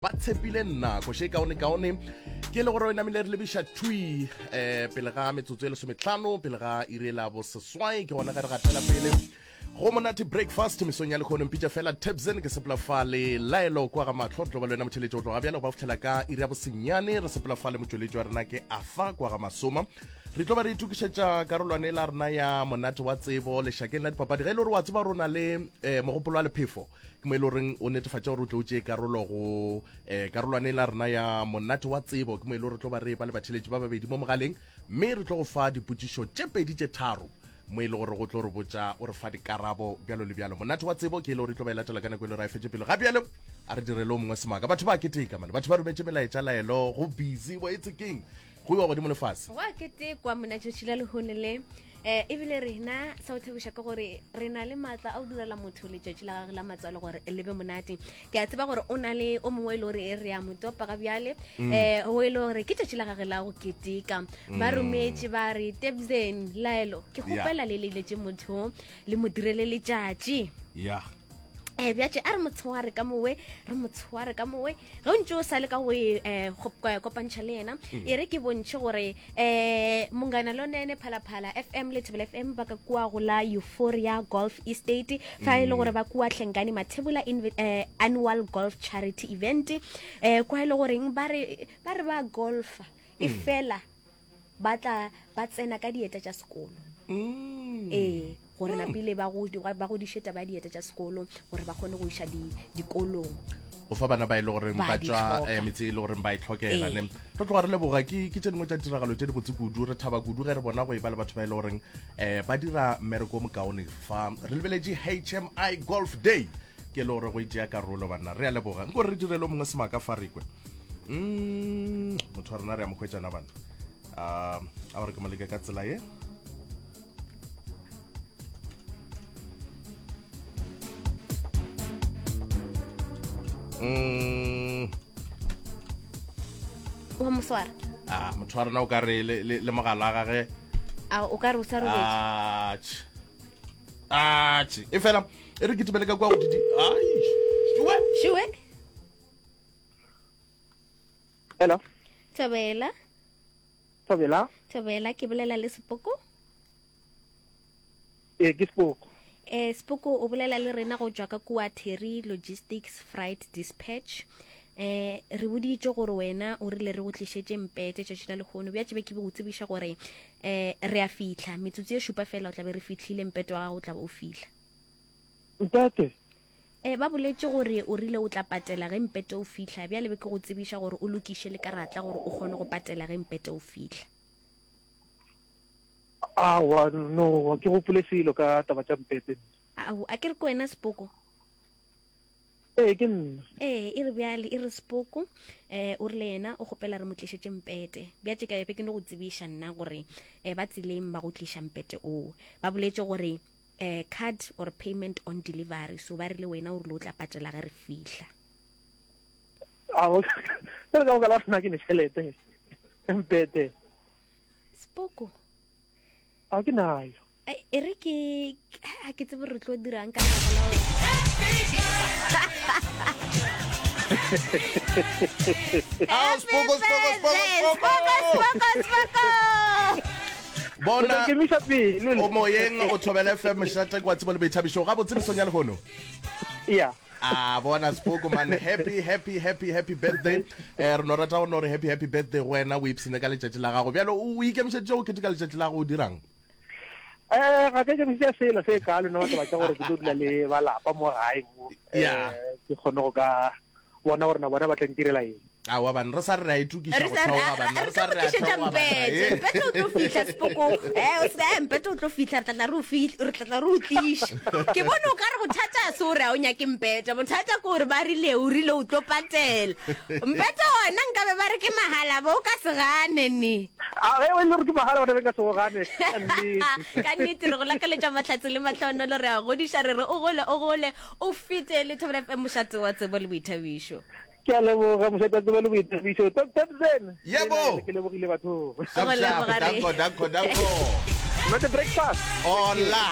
Ba tshepile nna. Koša e kaonekaone ke e le gore o namile re lebiša thwi um pele ga metsotso e lesometlhano pele ga iri la boseswai ke gona ge re gatela pele go monate breakfast mesong ya lekgono mpitša fela Tebzen ke sepela fa le laelo kwa ga mahlo re tlo ba le wena motheletši go tloga bjale go ba fitlhela ka iri ya bosenyane re sepela fa le motšweletši wa rena ke afa kwa ga masoma re tlo ba re itokišetša karolwane la rena ya monate wa tsebo lešakeng la dipapadi ge e le gore wa tseba rona le um mogopolo wa lephefo Ke mo e le goreng o netefatša gore o tle o tšee karolo go um karolwane la rena ya monate wa tsebo. Ke mo e le gore tlo ba re ba le batheletši ba babedi mo mogaleng, mme re tlo go fa dipotšišo tše pedi tše tharo mo e le gore go tlo re botša o re fa dikarabo bjalo le bjalo. Monate wa tsebo ke e le gore e tlo ba e latela ka nako e le gore a e fetše pele. Ga bjalo a re direle o mongwe semaka. Batho ba keteka mane, batho ba rometše melaetša laelo go busy bo etse keng go iwa godimo le fase. Go a ketekwa mona tšatši la lehono le. Eh, ebile rena sa go thabiša ke gore re na le maatla a go direla motho letšatši la gage la matswalo gore le be monate. Ke a tseba gore o na le o mongwe e le gore re a mo topa ga bjale, um o e le gore ke tšatši la gage la go keteka. Ba rometše ba re Tebzen Laelo, ke kgopela le leletše motho le mo direle letšatši. Yeah. Eh, bjatše a re mo tshware ka mowe, re mo tshware ka mowe. Ge o ntše o sa le ka go e, eh, kopantšha le yena, e re ke bontšhe gore eh, Mongana Lonene, Phalaphala FM le Thobela FM ba ka kua go la Euphoria Golf Estate, fa e le gore ba kua Hlengane Mathebula Annual Golf Charity Event, eh, kwa e le goreng ba re, ba re ba golfa, e fela ba tla ba tsena ka dieta tša sekolo. Ee, gore napile ba go ba godiše taba ya dieta tša sekolo gore ba kgone go iša di dikolong. Go fa bana ba e le goreng Ba ba di tšwa hloka. eh, metse e le goreng ba e tlhokela Ee. ne. Re tloga re leboga ke ke tše dingwe tša ditiragalo tše dibotse kudu re thaba kudu ge re bona go e ba le batho ba e le goreng eh, ba dira mmereko o mokaone fa re lebeletše HMI Golf Day ke le gore go e tšea karolo banna re a leboga nko re direle o mongwe semaka fa re kwe mm, motho wa rena re a mo hwetšana bana um a gore ke mo leke ka tsela ye mm. Wa mo swara? Ah, motho wa rena o ka re le, le, le mogala wa gage A o ka re o sa robetše? Atšhe. Atšhe. E fela e re kitimele ka kwa go didi. Ai. Shuwe. Shuwe. Hello. Thobela. Thobela. Thobela, ke bolela le Sepoko. Ee, ke Sepoko. Eh, Sepoko o bolela le rena go tšwa ka kua Terry Logistics Freight Dispatch. Eh, re boditše gore wena o rile re go tlišetše mpete tšatši la lehono. Bja tšebe ke be go tsebiša gore eh re a fihla. Metsotso ye šupa fela o tla be re fihlile mpete wa gago o tla be o fihla. Mpete? E, ba boletše gore o rile o tla patela ge mpete o fihla. Bjale be ke go tsebiša gore o lokiše le karatla gore o kgone go patela ge mpete o fihla. Aowa, no, ga ke gopole selo ka taba tša mpete. Ao, a ke re ke wena Sepoko? Ee, ke nna. Ee, e re bjale, e re Sepoko, eh, o rile yena o kgopela re mo tlišetše mpete. Bjatše ka be ke no go tsebiša nna gore eh, ba tseleng ba go tliša mpete oo. Ba boletše gore eh, card or payment on delivery, so ba rile wena o rile o tla patela ge re fihla. Ao, ka baka la nna ke ne tšhelete, mpete. Sepoko. A ke nayo. E re ke a ke tsebe re tlo dirang ka lebaka la gore Ah, Spoko, Spoko, Spoko, Spoko. Spoko, Spoko. Bona Ke misa pele. o moyeng o thobela FM mošate kwa tsebo le boithabišo gabotse mesong ya lehono. Yeah. A bona Spoko man happy happy happy happy birthday. Eh re no rata go no re happy happy birthday go wena o ipsene ka letšatši la gago. Bjalo o ikemišeditše go keteka letšatši la gago o dirang? Eh ga ke ikemišetša selo se kalo no taba tša gore ke tlo dula le ba lapa mo gae mo. Yeah. Eh ke kgone go ka bona gore na bona ba tla ntirela eng. Aowa banna re sa re re a itokiša Re go sa re theoga banna re re tlo sa go re re a tlišetša theoga banna mpete eh. mpete o tlo fihla sepoko eh o se eh, mpete o tlo fihla re tla tla re o fihla re tla tla re o tliša ke bone o ka re bothata se o re a o nyake mpete bothata ke gore ba rile o rile o tlo patela mpete ona nkabe ba re ke mahala bo o ka se gane ne A ge e le gore ke mahala bona be nka se go gane ka nnete. ka nnete re go lakaletša mahlatse le mahlonolo re a godiša re re o gole o gole o fete le Thobela FM mošate wa tsebo le boithabišo Ke a leboga mošate wa tsebo le boithabišo. Top Thompson. Yebo. Ke lebogile batho. Shap Go shap. leboga re. Danko danko danko. Not a breakfast. Hola.